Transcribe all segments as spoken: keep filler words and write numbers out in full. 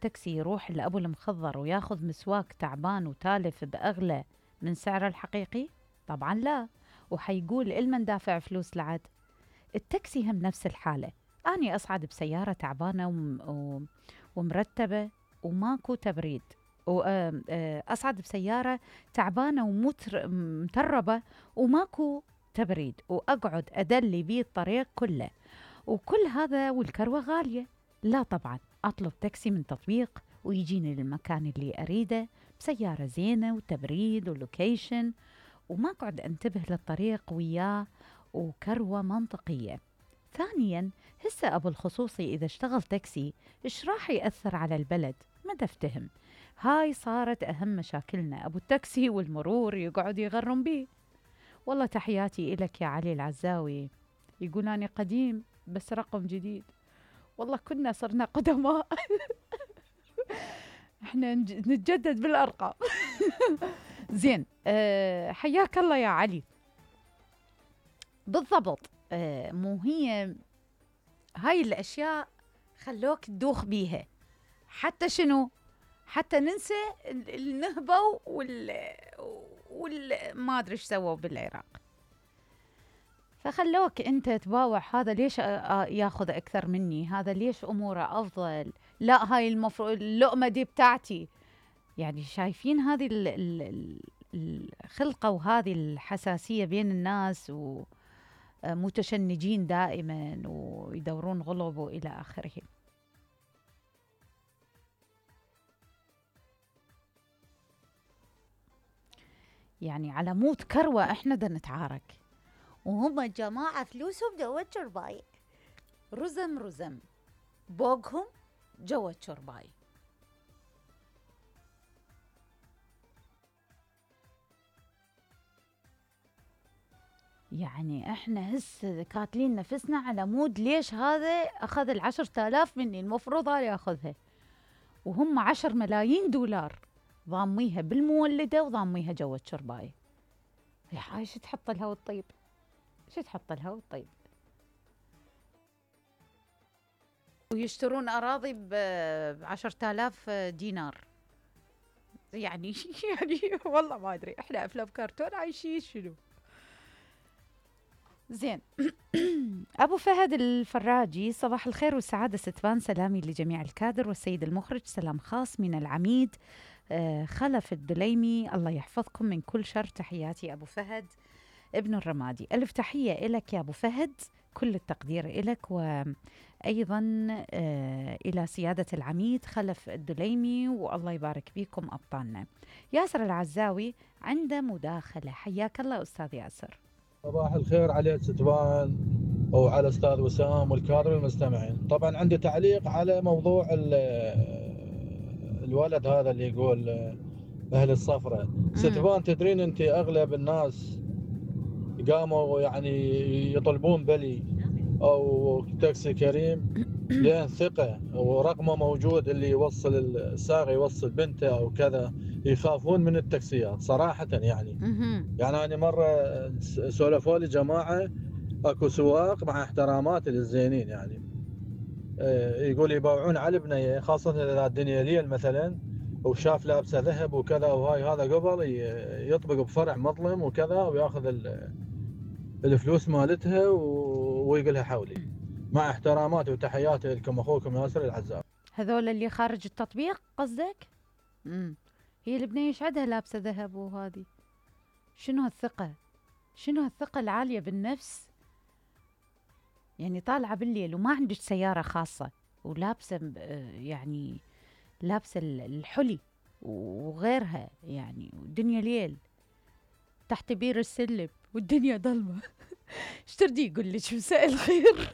التاكسي يروح لأبو المخضر وياخذ مسواك تعبان وتالف بأغلى من سعره الحقيقي؟ طبعا لا. وحيقول إلمن دافع فلوس لعد. التاكسي هم نفس الحالة. أني أصعد بسيارة تعبانة وم... ومرتبة وماكو تبريد، وأصعد بسيارة تعبانة ومتربة وماكو تبريد، وأقعد أدلي بيه الطريق كله، وكل هذا والكروة غالية. لا طبعا، أطلب تاكسي من تطبيق ويجيني للمكان اللي أريده بسيارة زينة وتبريد ولوكيشن، وما قعد أنتبه للطريق وياه، وكروة منطقية. ثانياً، هسه أبو الخصوصي إذا اشتغل تاكسي إيش راح يأثر على البلد؟ ما تفتهم. هاي صارت أهم مشاكلنا. أبو التاكسي والمرور يقعد يغرم بيه. والله تحياتي إلك يا علي العزاوي. يقولاني قديم بس رقم جديد. والله كنا صرنا قدماء. احنا نتجدد بالأرقام. زين، أه حياك الله يا علي. بالضبط. أه مو هي هاي الأشياء خلوك تدوخ بيها، حتى شنو؟ حتى ننسى النهبة وال وال ما أدري إيش سووا بالعراق، فخلوك أنت تباوع هذا ليش ياخذ أكثر مني، هذا ليش أموره أفضل، لا هاي المفروض اللقمة دي بتاعتي. يعني شايفين هذه الخلقة وهذه الحساسية بين الناس، ومتشنجين دائما ويدورون غلب وإلى آخره. يعني على موت كروة احنا دا نتعارك، وهم الجماعة فلوسهم جوا الشرباي، رزم رزم بوقهم جوا الشرباي. يعني احنا هسه كاتلين نفسنا على مود ليش هذا اخذ العشر تالاف مني، المفروض هذا ياخذها، وهم عشر ملايين دولار ضاميها بالمولدة وضاميها جوا الشرباي. هاي شو تحط لها والطيب، شو تحط لها والطيب. ويشترون أراضي بعشرة آلاف دينار. يعني يعني والله ما أدري إحنا أفلام كرتون عايشين شنو. زين. أبو فهد الفراجي، صباح الخير والسعادة ستفان، سلامي لجميع الكادر والسيد المخرج، سلام خاص من العميد آه خلف الدليمي، الله يحفظكم من كل شر. تحياتي أبو فهد ابن الرمادي. ألف تحية إلك يا أبو فهد، كل التقدير إلك، وأيضا آه إلى سيادة العميد خلف الدليمي، والله يبارك بكم أبطالنا. ياسر العزاوي عنده مداخلة، حياك الله أستاذ ياسر. صباح الخير على ستفان وعلى أستاذ وسام والكادر المستمعين. طبعا عندي تعليق على موضوع الولد هذا اللي يقول أهل الصفرة. ستفان تدرين أنت أغلب الناس قاموا يعني يطلبون بلي أو تاكسي كريم لأن ثقة ورقمه موجود، اللي يوصل السائق يوصل بنته أو كذا، يخافون من التاكسيات صراحة. يعني يعني أنا مرة سولفوا لي جماعة أكو سواق مع احترامات للزينين، يعني يقول يباوعون على البنية، خاصة إذا الدنيا ليل مثلا وشاف لابسه ذهب وكذا، وهاي هذا قبل يطبق بفرع مظلم وكذا وياخذ الفلوس مالتها ويقولها حولي. مع احتراماتي وتحياتي لكم اخوكم ياسر العزاوي. هذول اللي خارج التطبيق قصدك؟ امم هي البنيه يشعدها لابسه ذهب، وهذه شنو هالثقه، شنو هالثقه العاليه بالنفس. يعني طالعه بالليل وما عندك سياره خاصه ولابسه يعني لابسه الحلي وغيرها، يعني والدنيا ليل تحت بير السلم والدنيا ظلمه. ايش تردي يقول لك مساء الخير؟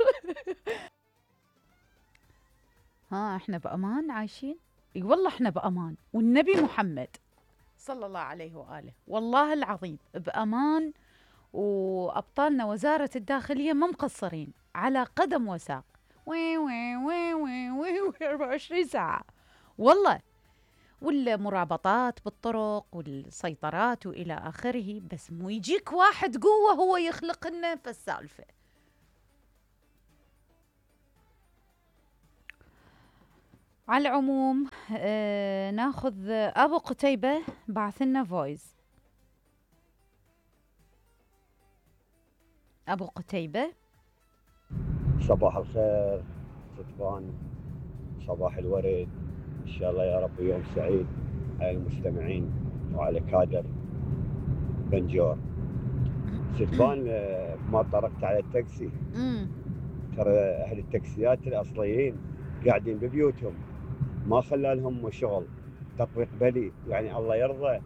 ها احنا بامان عايشين؟ اي والله احنا بامان، والنبي محمد صلى الله عليه واله والله العظيم بامان، وابطالنا وزاره الداخليه ما مقصرين على قدم وساق، وي وي وي وي وي وي أربعة وعشرين ساعه والله، والمرابطات بالطرق والسيطرات والى اخره. بس مو يجيك واحد قوه هو يخلق لنا فالسالفه. على العموم آه ناخذ ابو قتيبة بعث لنا فويس. ابو قتيبة صباح الخير ستبان، صباح الورد، ان شاء الله يا رب يوم سعيد على المستمعين وعلى كادر بنجور. ستبان آه، ما طرقت على التاكسي، امم ترى اهل التاكسيات الاصليين قاعدين ببيوتهم، ما خلى لهم شغل. تطبيق بلي يعني الله يرضى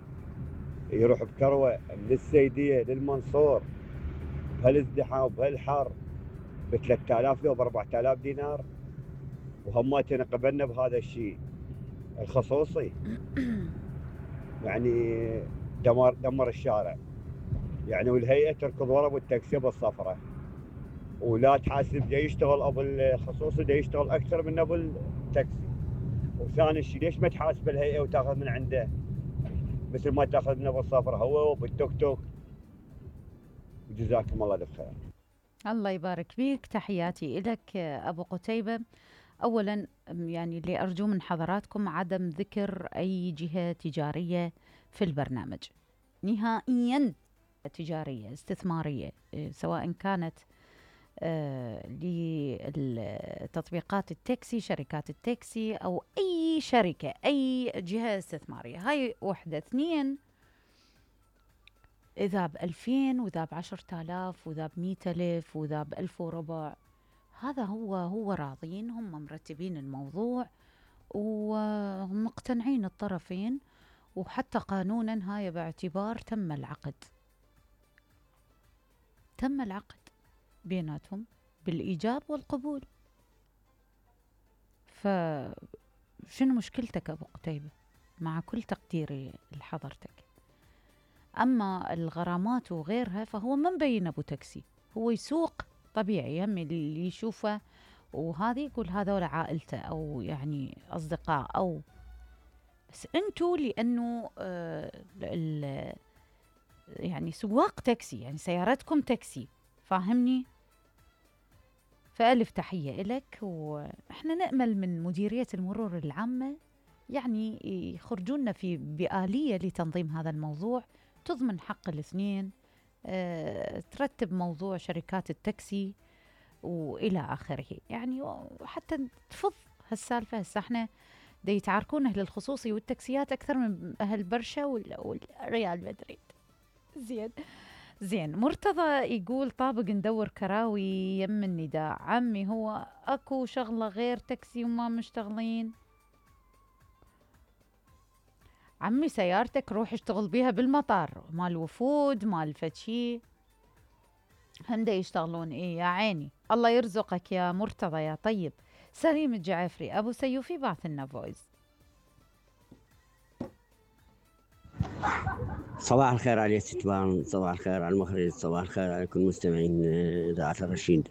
يروح بكروه من السيديه للمنصور بهالازدحام وبهالحر ب ثلاثة آلاف لو ب أربعة آلاف دينار، وهماتنا قبلنا بهذا الشيء الخصوصي. يعني دمر دمر الشارع يعني، والهيئه تركض ورا بالتاكسي بالصفرة، ولا تحاسب دا يشتغل ابو الخصوصي دا يشتغل اكثر من ابو التاكسي. وثاني شيء ليش ما تحاسب الهيئه وتاخذ من عنده مثل ما تاخذ من ابو الصفرة هو وبالتوك توك؟ جزاكم الله الف خير. الله يبارك فيك، تحياتي لك ابو قتيبة. اولا يعني اللي ارجو من حضراتكم عدم ذكر اي جهة تجارية في البرنامج نهائيا، تجارية استثمارية، سواء كانت آه لتطبيقات التاكسي، شركات التاكسي أو أي شركة، أي جهة استثمارية. هاي وحدة. اثنين، إذا بألفين وإذا بعشرة آلاف وإذا بمئة ألف وإذا بألف وربع، هذا هو هو راضين، هم مرتبين الموضوع ومقتنعين الطرفين، وحتى قانونا هاي باعتبار تم العقد، تم العقد بيناتهم بالإيجاب والقبول. فشنو مشكلتك أبو قتيبة؟ مع كل تقديري لحضرتك. أما الغرامات وغيرها فهو ما مبين أبو تاكسي، هو يسوق طبيعي، هم اللي يشوفه وهذه يقول هذول عائلته أو يعني أصدقاء، أو بس أنتوا لأنه آه يعني سواق تاكسي، يعني سيارتكم تاكسي، فاهمني؟ فألف تحية إلك. وإحنا نأمل من مديرية المرور العامة يعني يخرجونا في بآلية لتنظيم هذا الموضوع، تضمن حق الاثنين، أه ترتب موضوع شركات التاكسي وإلى آخره، يعني وحتى تفض هالسالفة. هسه احنا دا يتعاركون أهل الخصوصي والتاكسيات أكثر من أهل برشا والريال مدريد. زين زين. مرتضى يقول طابق ندور كراوي يم النداء. عمي هو اكو شغلة غير تاكسي وما مشتغلين؟ عمي سيارتك روح اشتغل بيها بالمطار، مال وفود مال فتشي، هم دا يشتغلون. ايه يا عيني، الله يرزقك يا مرتضى يا طيب. سليم الجعفري ابو سيوفي بعث لنا فويس. صباح الخير على ستبان، صباح الخير على المخرج، صباح الخير على كل مستمعين إذاعة الرشيد.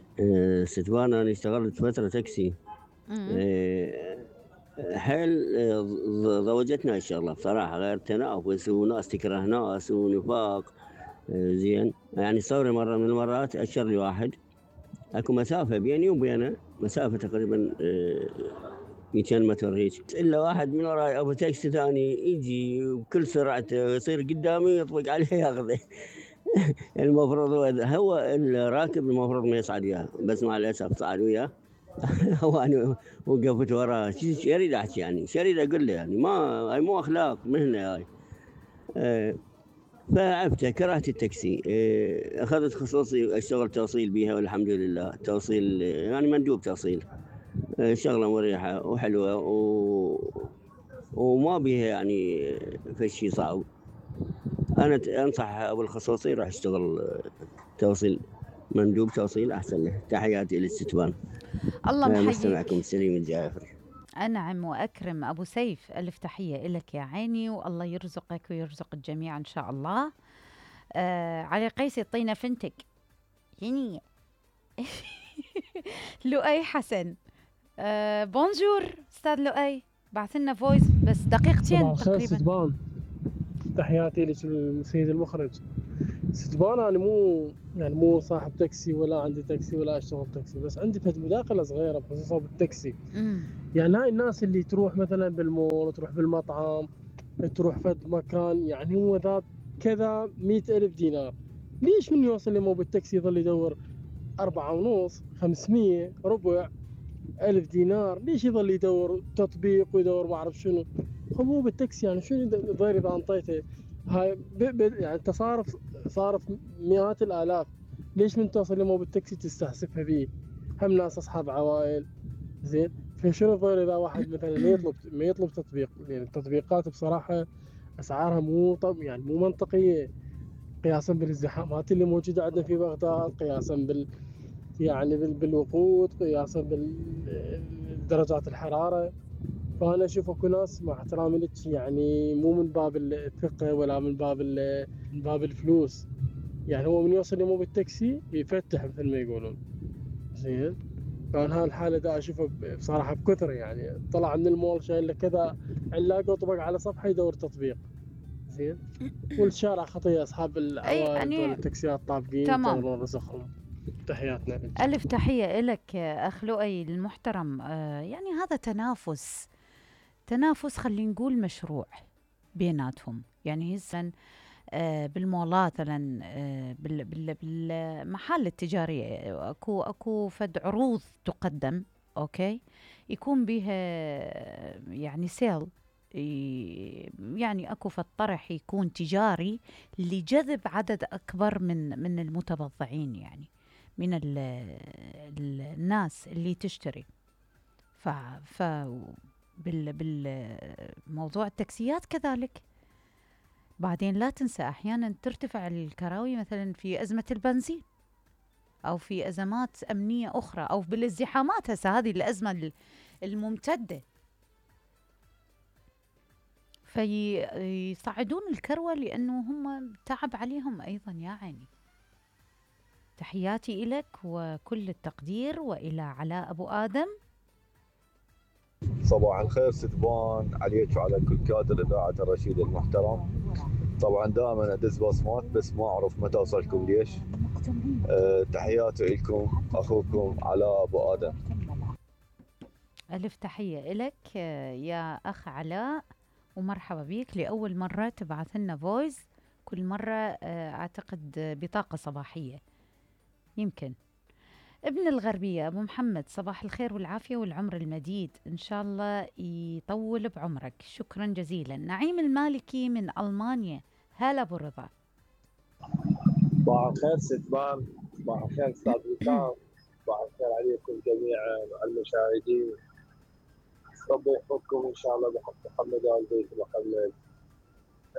ستبان أنا اشتغلت فترة تاكسي، حيل ضوجتنا الشغلة بصراحة، غير تنافس وناس تكره ناس ونفاق. زين يعني صوري مرة من المرات أشر لي واحد، أكو مسافة بيني وبينه مسافة تقريبا مئتين متر هيك، إلا واحد من وراي أبو تاكسي ثاني يجي بكل سرعته يصير قدامي يطبق عليه ياخذه. المفروض هو الراكب المفروض ما يصعد وياه، بس مع الأسف صعد وياه. هو أنا وقفت وراه، شو أريد أحكي يعني، شو أريد أقول له يعني، ما هاي مو أخلاق مهنة هاي. أه فعبت كرهت التاكسي. أه أخذت خصوصي أشتغل توصيل بيها والحمد لله، توصيل يعني مندوب توصيل، شغلة مريحة وحلوة و... وما بيها يعني فشي صعب. أنا أنصح أبو الخصوصي راح يشتغل توصيل، مندوب توصيل أحسن له. تحياتي للستبان. الله محييك. مستمعكم سليم الجعفري. أنعم وأكرم أبو سيف، ألف تحية إلك يا عيني، والله يرزقك ويرزق الجميع إن شاء الله. آه علي قيس يعطينا فنتك يعني. لؤي حسن آه بونجور استاذ لؤي، بعث لنا فويس بس دقيقتين تقريبا. ستبان، تحياتي للسيد المخرج. ستبان انا مو يعني مو صاحب تاكسي ولا عندي تاكسي ولا اشتغل تاكسي، بس عندي فد مداخله صغيره بخصوص بالتاكسي. امم يعني هاي الناس اللي تروح مثلا بالمول، تروح بالمطعم، تروح فد مكان، يعني هو ذا كذا مئة ألف دينار، ليش من يوصل لمو بالتاكسي يظل يدور أربعة ونص خمسمية ربع ألف دينار؟ ليش يظل يدور تطبيق ويدور ما أعرف شنو؟ هو بالتاكسي يعني شنو ضير إذا أنطيته هاي ب... ب... يعني أنت صارف صارف مئات الآلاف، ليش من توصل لمو بالتاكسي تستحسفها بيه؟ هم ناس أصحاب عوائل، زين. فشنو الضير إذا واحد مثلا ما يطلب ما يطلب تطبيق؟ يعني التطبيقات بصراحة أسعارها مو طب يعني مو منطقية قياسا بالازدحامات اللي موجودة عندنا في بغداد، قياسا بال يعني بال... بالوقود، قياسا بدرجات الحرارة. فأنا أشوف أكو ناس مع احترامي لك يعني مو من باب الثقة ولا من باب ال... من باب الفلوس، يعني هو من يوصل يمو بالتاكسي يفتح مثل ما يقولون، زين. فأنا هاي الحالة دا أشوفها بصراحة بكثر، يعني طلع من المول شايل له كذا علاقة وطبق على صفحة يدور تطبيق، زين. والشارع خطية، أصحاب أي العوائل دول يعني التاكسيات طابقين تمام. ينتظرون رزقهم. تحياتنا لك. ألف تحية إلك أخ لؤي المحترم. آه يعني هذا تنافس، تنافس خلينا نقول مشروع بيناتهم. يعني هسه آه بالمولات مثلا، آه بال- بال- بالمحال التجارية اكو اكو فد عروض تقدم، اوكي، يكون بها يعني سيل، ي- يعني اكو فد طرح يكون تجاري لجذب عدد اكبر من من المتبضعين، يعني من ال ال الناس اللي تشتري. ف ف بال بالموضوع التاكسيات كذلك. بعدين لا تنسى أحيانا ترتفع الكراوي مثلا في أزمة البنزين أو في أزمات أمنية أخرى أو بالازدحامات. هسه هذه الأزمة ال- الممتدة، فيصعدون الكروة لأنه هم تعب عليهم أيضا يا عيني. تحياتي إلك وكل التقدير، وإلى علاء أبو آدم. صباح الخير ستبان عليك وعلى كل كادر إذاعة الرشيد المحترم. طبعا دائما أدز بصمات بس ما أعرف متى أوصلكم ليش. أه تحياتي لكم أخوكم علاء أبو آدم. ألف تحية إلك يا أخ علاء، ومرحبا بيك. لأول مرة تبعث لنا فويس، كل مرة أعتقد بطاقة صباحية يمكن. ابن الغربية أبو محمد، صباح الخير والعافية والعمر المديد، إن شاء الله يطول بعمرك. شكرا جزيلا. نعيم المالكي من ألمانيا، هلا أبو رضا. صباح الخير ستبان، صباح الخير استاذ وسام، صباح الخير عليكم جميعا المشاهدين. ربي يحفظكم ان شاء الله بحق محمد وال بيت محمد.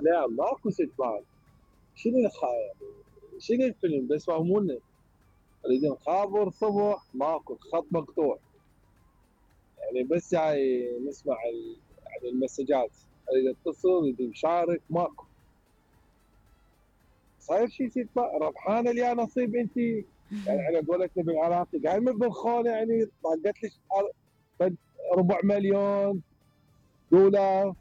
نعم ماكو ستبان، شنو الخايب؟ شنو الفيلم؟ بس فهمونا، نريد خابر صبح ماكو، خط مقطوع، يعني بس جاي نسمع ال... يعني المسجات، اريد اتصل اريد نشارك ماكو. صاير شيء ستبان ربحانه لي نصيب انت، يعني على قولتنا بالعراقي قايمه بالخونه، يعني طاقت لك ربع مليون دولار،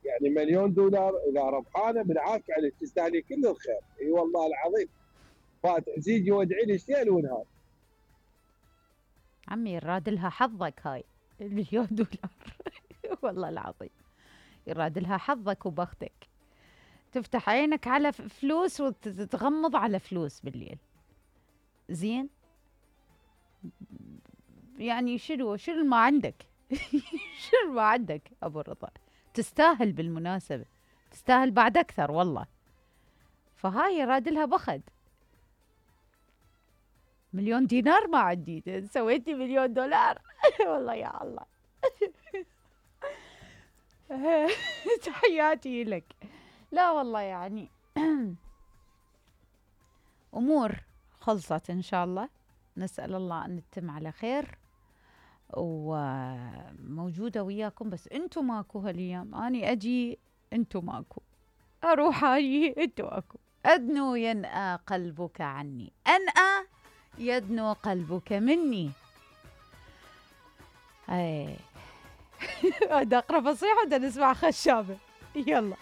يعني مليون دولار اذا ربحانه بالعافيه عليك، تستاهلي كل الخير. اي والله العظيم، فات زيدي وادعي لي ليل ونهار. عمي يراد لها حظك هاي المليون دولار والله العظيم يراد لها حظك وبختك. تفتح عينك على فلوس وتتغمض على فلوس بالليل، زين. يعني شنو شنو ما عندك شنو ما عندك أبو رضا؟ تستاهل بالمناسبة، تستاهل بعد أكثر والله. فهاي يراد لها بخد. مليون دينار ما عندي، سويتي مليون دولار والله يا الله تحياتي لك. لا والله يعني أمور خلصت إن شاء الله، نسأل الله أن تتم على خير، وموجودة وياكم. بس أنتو ماكو هالأيام، أني أجي أنتو ماكو، أروح أجي أنتو ماكو. أدنو ينأى قلبك عني، أنأى يدنو قلبك مني. أي هذا أقرأ فصيحة وده نسمع خشابة. يلا